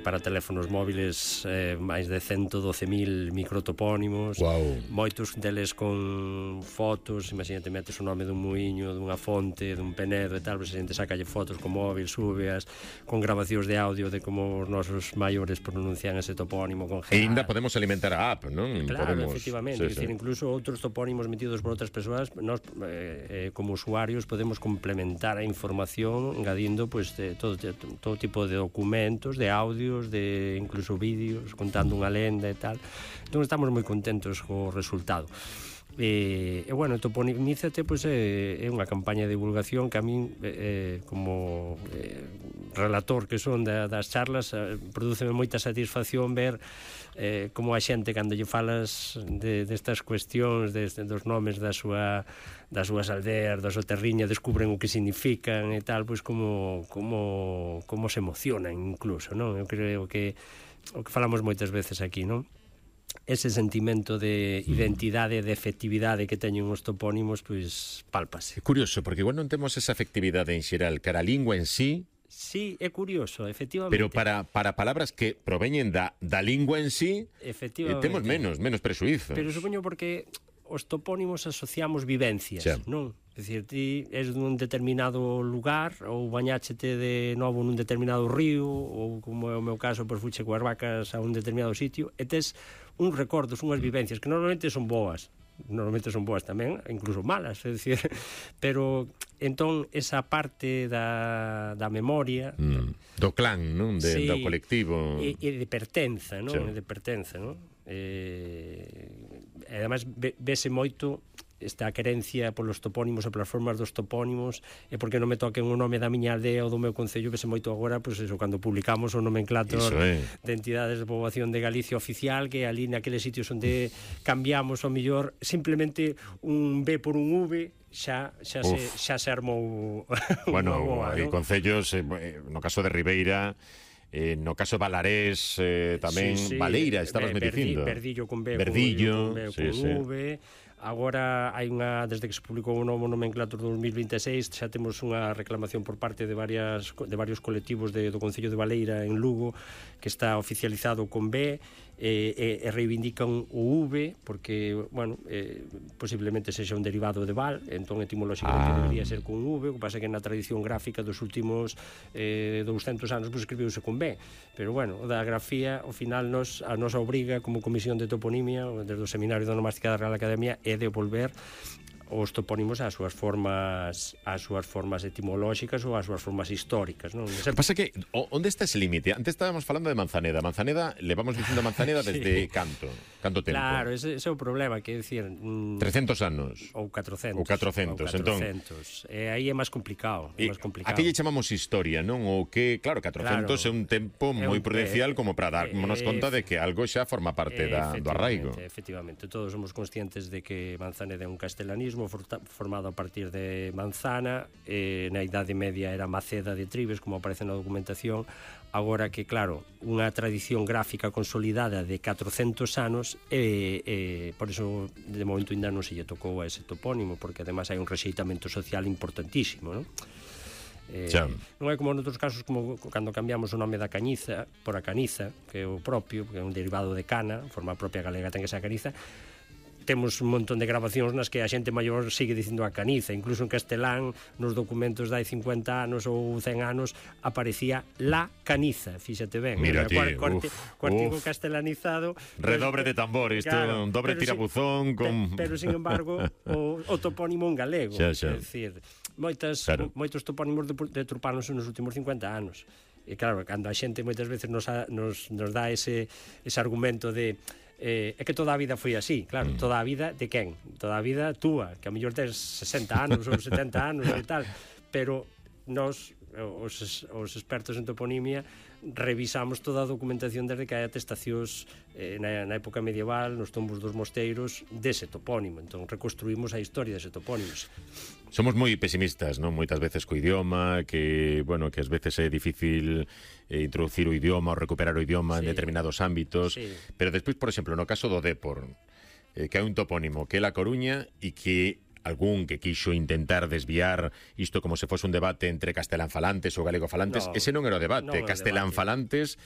para teléfonos móviles, máis de 112.000 microtopónimos. Moitos deles con fotos. Imagínate, metes o nome dun muiño, dunha fonte, dun penedo e tal, pois a xente sacalle fotos con móvil, súbeas, con grabacións de audio de como os nosos maiores pronuncian ese topónimo con G. E ainda podemos alimentar a app, non? Claro, podemos, efectivamente, sí. Decir, incluso outros topónimos metidos por outras persoas, nós como usuarios podemos complementar a información engadindo pues, todo tipo de documentos, de audios, de incluso vídeos contando unha lenda e tal. Entón estamos moi contentos co resultado. E bueno, Toponimízate pues, é unha campaña de divulgación que a min como relator que son das charlas prodúceme moita satisfacción ver como a xente cando lle falas destas cuestións dos nomes das súas aldeas, da súa terriña, descubren o que significan e tal, pois como se emocionan incluso, non? Eu creo que o que falamos moitas veces aquí, non? Ese sentimento de identidade, de efectividade que teñen os topónimos, pois pálpase. É curioso, porque igual non temos esa efectividade en xeral cara a lingua en sí. Sí, é curioso, efectivamente. Pero para palabras que proveñen da lingua en sí, temos menos presuízos. Pero supoño porque os topónimos asociamos vivencias, non? É dicir, ti és dun determinado lugar ou bañáchete de novo nun determinado río ou, como é o meu caso, pois fuche coas vacas a un determinado sitio e tes uns recordos, unhas vivencias que normalmente son boas tamén, incluso malas, é dicir, pero entón esa parte da memoria do clan, non? Do colectivo e de pertenza, non? De pertenza, non? E ademais vese moito esta querencia polos topónimos e polas formas dos topónimos e porque non me toquen o nome da miña aldea ou do meu concello, vese moito agora, pois eso, cando publicamos o nomenclator de entidades de poboación de Galicia oficial, que ali naqueles sitios onde cambiamos o mellor simplemente un B por un V xa se armou bueno, hai concellos, no caso de Ribeira, no caso de Valarés tamén, Valeira, estabas me dicindo Verdillo con B, Verdillo, con V. Agora hai unha, desde que se publicou o novo nomenclator 2026, xa temos unha reclamación por parte de varios colectivos do Concello de Valeira en Lugo, que está oficializado con B e reivindican o V porque, bueno, posiblemente sexa un derivado de Val, entón etimolóxicamente debería ser con V. O que pasa é que na tradición gráfica dos últimos 200 anos pues, escribiuse con B, pero bueno, da grafía ao final a nosa obriga como Comisión de Toponimia desde o Seminario de Onomástica da Real Academia é devolver os topónimos ás súas formas etimolóxicas ou ás súas formas históricas, non? O que pasa que, onde está ese límite? Antes estábamos falando de Manzaneda, le vamos dicindo Manzaneda desde canto tempo? Claro, ese é o problema, que é dicir 300 anos ou 400, entón aí é máis complicado, Aquí lle chamamos historia, non? O que, claro, 400 é un tempo moi prudencial como para darnos conta de que algo xa forma parte do arraigo. Efectivamente, todos somos conscientes de que Manzaneda é un castelanismo formado a partir de Manzana, na Idade Media era Maceda de Tribes, como aparece na documentación. Agora que, claro, unha tradición gráfica consolidada de 400 anos por iso de momento ainda non se lle tocou a ese topónimo, porque ademais hai un rexeitamento social importantísimo, non? Non é como noutros casos, como cando cambiamos o nome da cañiza por a caniza, que é o propio, que é un derivado de cana, forma propia galega ten que ser a caniza. Temos un montón de grabacións nas que a xente maior sigue dicindo a caniza, incluso en castelán nos documentos de hai 50 anos ou 100 anos aparecía la caniza, fíxate ben. Mira ti, cuartigo castelanizado, redobre de tambor, isto é un dobre tirabuzón pero sin embargo o topónimo en galego, é dicir, moitos topónimos deturpáronse nos últimos 50 anos. E claro, cando a xente moitas veces nos dá ese argumento de é que toda a vida foi así, claro, toda a vida de quen? Toda a vida túa, que a mellor tes 60 anos ou 70 anos e tal, pero nós, os expertos en toponimia, revisamos toda a documentación desde que hai atestacións na época medieval, nos tombos dos mosteiros dese topónimo, entón reconstruímos a historia dese topónimo. Somos moi pesimistas, non? Moitas veces co idioma, que, bueno, que ás veces é difícil introducir o idioma ou recuperar o idioma en determinados ámbitos, pero despois, por exemplo, no caso do Dépor, que hai un topónimo que é La Coruña e que algún que quixo intentar desviar isto como se fose un debate entre castelán falantes ou galego falantes. Ese non era o debate. Castelán falantes